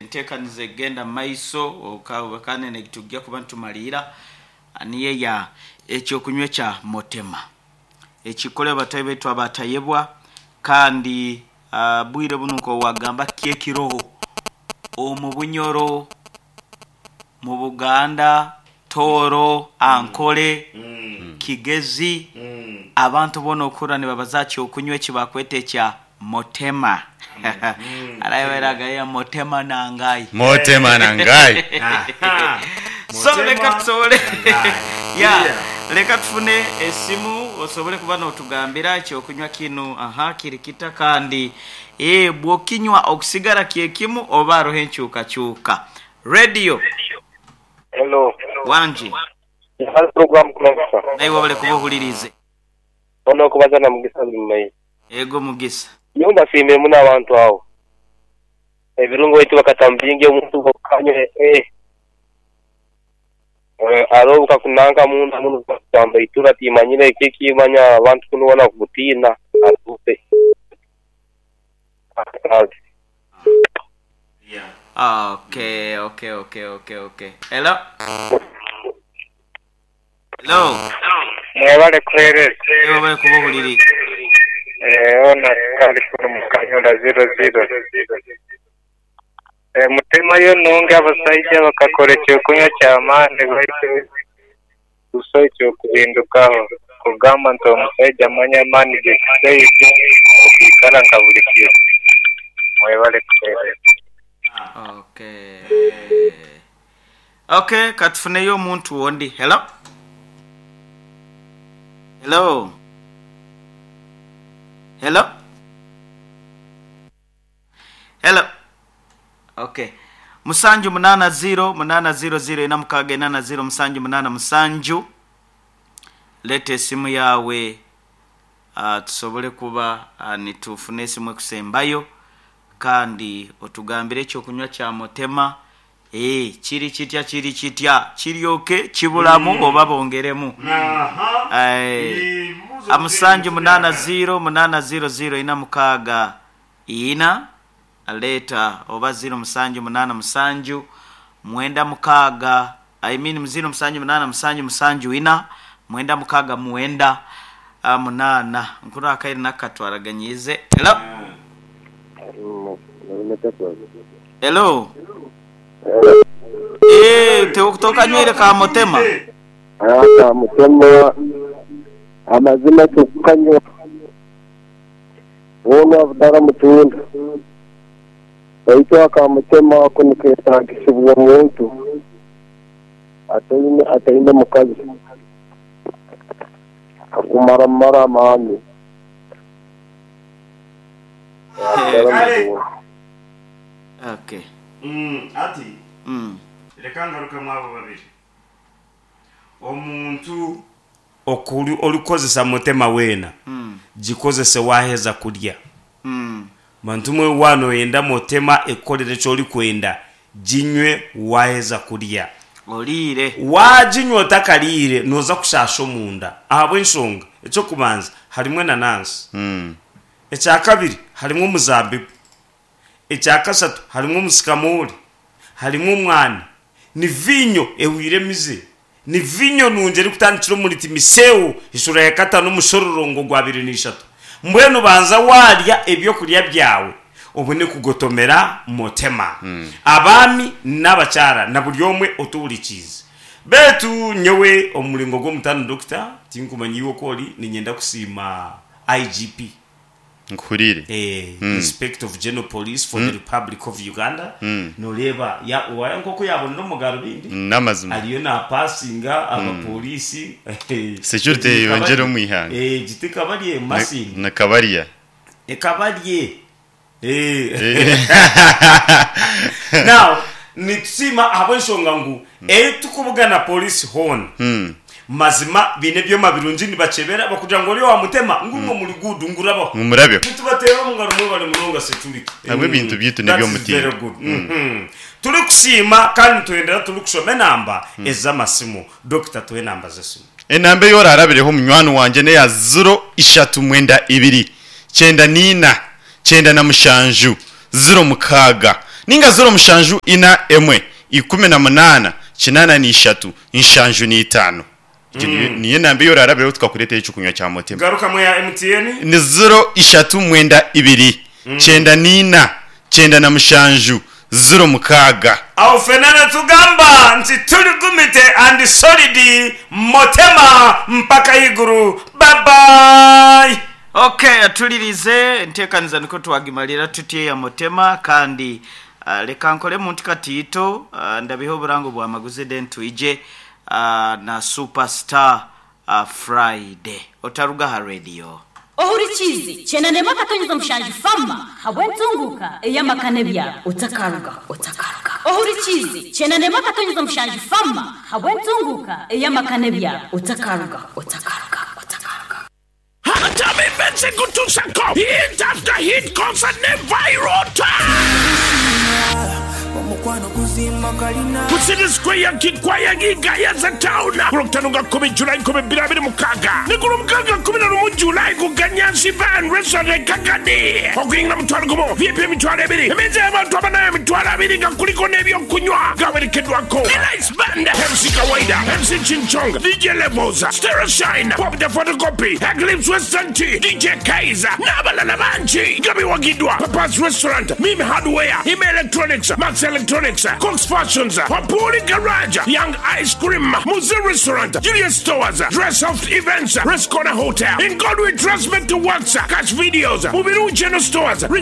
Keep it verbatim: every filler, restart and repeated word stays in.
Enteekaniza egenda mu maiso oka- kandi netujja kuba nitumalira niyo ya ekyokunywa ekya motema ekikole batayi baitu abatayebwa. Kandi uh, bwire buno nkowagamba kyekiroho omu Bunyoro, mu Buganda, Tooro, Ankole, Kigezi, abantu bona okura nibabaza kyokunywa ekibakweta ekya motema. Araberagayo motema nangai. Motema nangai. So leka tusobole ya Yeah. leka tufune esimu osobole kuba notugambira ekyokunywa kinu aha kiri kita, kandi eh bwokinywa okusigara kyekimu oba aroho enkyukakyuka. Radio. Hello. Wanji. Hali program kulongosa. Naye wabale kuba ohulirize. Ono kubaza na Mugisa Lumayi. Ego Mugisa. Nyumba simbe muna abantu awo. Ebirungo wetu bakatambinge omuntu bokanywe eh. Eh, aro bukakunanga munda muno kutamba itura timanyire kiki manya abantu kunuona kutina atupe. Yeah. Okay, okay, okay, okay, okay. Hello. Hello. Mwebale kuhereza. Naye wabale kuba ohulirize. Eh, ona kali kuno mukanyonda zero zero. Eh, mutema yo nunge abasajja bakakora ekyokunywa kyamaani baitu buso ekyokuhindukaho kugamba nti omusajja amanya amaani g'ekisaija okwikara nka buli kiro. Mwebale kuhereza. Okay. Okay, katufuneyo omuntu wondi. Hello. Hello. Hello. Hello. Okay. Musanju munana zero munana zero zero ina mukaga inana zero musanju munana musanju. Leta esimu yawe uh, tusobole kuba uh, nitufune esimu ekusembayo kandi otugambire ekyokunywa kya motema eh kiri kitya kiri kitya kiryoke kibulamu mm. oba bongeremu. Aha. Eh, Ebibuuzo amusanju bigenda munana kubyagala. zero munana zero zero ina mukaga ina leta oba zero musanju munana musanju mwenda mukaga, I mean zero musanju munana musanju musanju ina mwenda mukaga mwenda ah, munana nkuru akairi nakatwaraganyize. Hello. Hello. Eh, te kutoka nywire ka motema. Aka mutema amazima tukanywa wona abudara mutunda baitu akamutema ako niketagisibwa omuntu ataine ataine mukazi akumara mara amaani. Abudara Kale. mutunda. Okay. Mm, ati Mm. reka ngaruke abo babiri. Omuntu okuri orikozesa mutema wena Mm. gikozese waheza kurya. Mm. Bantu mwe wano yenda mutema ekolere kyoli kwenda ginywe waheza kurya. Oliire. Waginywa otakariire noza kushasha omunda ahabw'enshonga ekyokubanza harimu enanansi, Mm. ekyakabiri harimu omuzabibu, ekyakasatu harimu omusikamori, harimu omwani, ni vinyo ehwire emize, ni vinyo nungi erikutandikira omuri Timisewo eshura ya katano omushororongo gwa biri n'ishatu. Mbwenu banza warya ebyokurya byawe obone kugotomera motema. Abaami n'abakyara na buri omwe otuhurikiize betu nyowe omuringo gw'omutano dokita tinkumanya iwe oku ori ninyenda kusiima I G P. Nkuhurire. eh, Inspector of General Police for the Republic of Uganda. Noreba ya waya nkoko yabonera omugaro bindi N'amazima. ariyo napasinga abapolisi. Security yongera omu ihanga. Eh, giti kabarye masinga. Na kabariya. Ekabarye eh. Now nitusiima ahabw'enshonga ngu etukubugana polisi hoona Mm. mazima biine ebyoma birungi nibakebera bakugira ngu ori wamutema ngumwe muri gudu ngurabaho. Mumurabyo. Nitubateera omu ngaro mwe bari munonga security. Nabwo ebintu byaitu That is n'eby'omutindo. very good. Mhm. Turi kusiima kandi nitwendera turi kushoma enamba ez'amasimu. Dokita, tuhe enamba z'esimu. Enamba eyorarabireho munywani wanje neya ziro ishatu mwenda ibiri cyenda nina cyenda na mushanju ziro mukaga. Ninga ziro mushanju ina emwe ikumi na munana kinana n'ishatu nshanju n'itaano. Egyo niyo- niyo namba ei oraarabireho tukakureetera ekyokunywa kya Motema. Garukamu eya M T N. Ni ziro ishatu mwenda ibiri kyenda n'ina kyenda na mushanju ziro mukaaga. Aho ffena nitugamba nti turi gumite and solid Motema mpaka ahaiguru. Bye bye! Ok, atulirize enteekaniza nikwo twagimalira tutya eya Motema. Kandi uh, leka nkoremu nti katiito uh, ndabiha oburango bwa maguzi, then twije uh, na Superstar uh, Friday. Otaruga ha radio. Ohurikize kyenda akatonyeza mushanju fama habwentunguka eyamakane byabo otakaruga otakaruga. Ohurikize kyenda akatonyeza mushanju fama habwentunguka eyamakane byabo otakaruga otakaruga otakaruga. Hatami Kutusako hit after hit concert ne Virota ku City Square, Kikwaya, Gayaza Town, ku Lwokutaano nga kkumi Julayi nkumi bbiri abiri mu mukaaga ne ku Lwomukaaga kkumi na lumu Julayi ku Ganyansi Bar and Restaurant e Kagadi. Okuyingira mutwalo gumu, V I P emitwalo ebiri, emmeeza y'abantu abana emitwalo abiri nga kuliko n'ebyokunywa. Gawerekeddwako Elice Band, M C Kawaida, M C Chinchong, D J Levels, Stereo Shine, Pop the Photocopy, Eclipse Western Tea, D J Kaiser n'abalala bangi, nga biwagiddwa Papas Restaurant, Mimi Hardware, Ime Electronics, Max Electronics, Cox Fashions, Wapuri Garage, Young Ice Cream, Muze Restaurant, Julius Stores, Dress Soft Events, Rest Corner Hotel, In Godwin Trust to Works, Cash Videos, Mubiru General Stores, Rich